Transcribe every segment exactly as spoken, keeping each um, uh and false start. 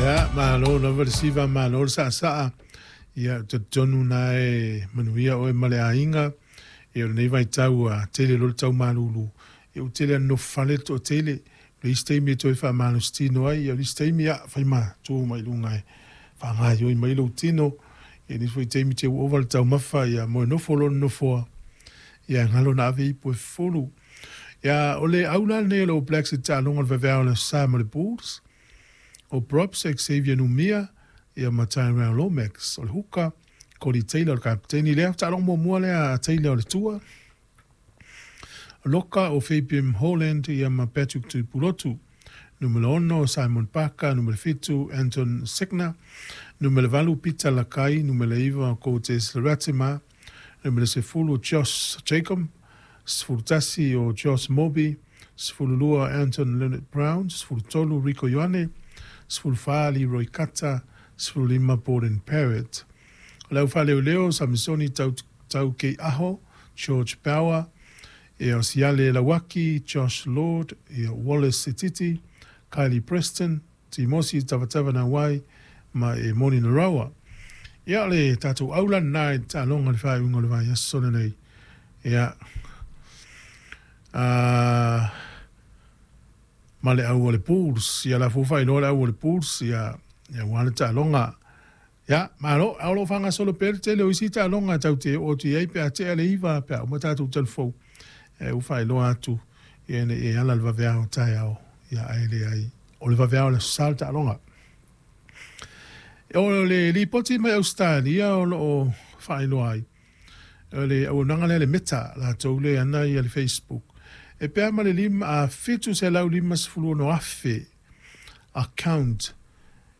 Ia, malo lava le siva, malo le saasaa. Ia, ou te talitonu na e manuia oe ma le aiga. Ia, o lenei vaitau ua tele loa le tau malulu. Ia, ua tele lava ina nofo fale le toatele. O le isi taimi e toe faamalositino ai, ia o le isi taimi, ia, fai ma tu mai luga e faagaoioi mai lou tino. Ia, nisi foi taimi te ua ova le taumafa, ia moe nofo loa le nofoa, ia galo na ave ipu e fufulu. Ia, o le au la lenei o le All Blacks i le taaloga o le vaveao o le Aso Sa ma le Bulls. O Props, Xavier Numia, ia ma Tyrell Lomax. O le huka, Codie Taylor o le kapeteni lea. Taaloga muamua lea a Taylor o le tua. Loka o Fabian Holland ia ma Patrick Tuipulotu. Numera ono Simon Parker, numera fitu Anton Segner, numera valu Peter Lakai, numera iva Cortez Ratima, numera sefulu Josh Jacob, sefulu tasi o Josh Moby, sefulu lua Anton Lienert-Brown, sefulu tolu Rieko Ioane, sefulu fa Leroy Carter, sefulu lima Beauden Barrett. O le au faaleoleo Samisoni Tau Taukeiaho, George Bower, ia o Siale Lauaki, Josh Lord, ia Wallace Sititi, Kylie Preston, Timosi Tavatavanawai ma e Moni Narawa. Ia o le tatou aula lena i le taaloga i le faaiuga o le vaiaso lenei. Ia, a ma le au o le Bulls, ia la foi faailoa le au o le Bulls, ia, ia aua le taaloga. Ia, malo, a o lo o faagasolo pea le tele o isi taaloga tatou te oo atu i ai pe a tea le iva pe a uma tatou talafou. E ua faailoa atu ia ina ia ala le vaveao taeao, ia ae leai o le vaveao o le Aso Sa le taaloga. O le lipoti mai Ausetalia o lo o faailoa ai, o le auaunaga lea le Meta, latou le ana ia le Facebook, e pea ma le lima, a fitu selau lima sefulu ono afe account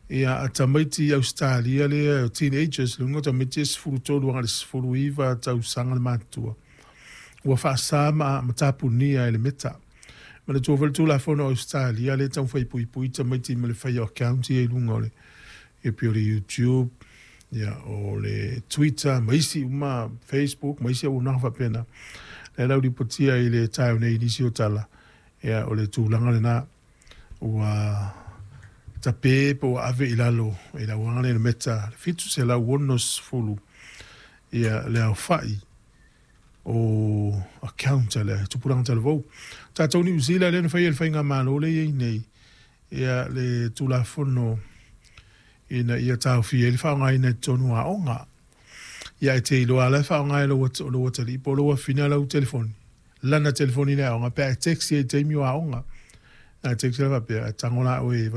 ia a tamaiti i Ausetalia lea, teenagers, le uiga o tamaiti e sefulu tolu agai i le sefulu iva tausaga le matutua, ua faasa ma ma tapunia e le Meta. Manatua foi le Tulafono a Ausetalia lea e taumafai e puipui tamaiti ma le fai o account ia i luga o le ia pei o le YouTube, ia o le Twitter ma isi uma, Facebook ma isi auaunaga faapena. Lea la ua lipotia i le taeao nei i nisi o tala, ia o le tulaga lena ua tape po ua ave i lalo e le auaunaga lea le Meta le fitu selau onosefulu ia le aofai o account a le tupulaga talavou. Tatou Niu Sila lea na faia e le faigamalo lea e i ai nei ia le Tulafono ina ia taofia ai le faaaogaina i totonu o aoga. Ia e te iloa la e faaaoga e lou lou atalii po o lou afafine lau telefoni, lana telefoni i le aoga pe a e text i ai i taimi o aoga. Na text la faapea, e tago la oe.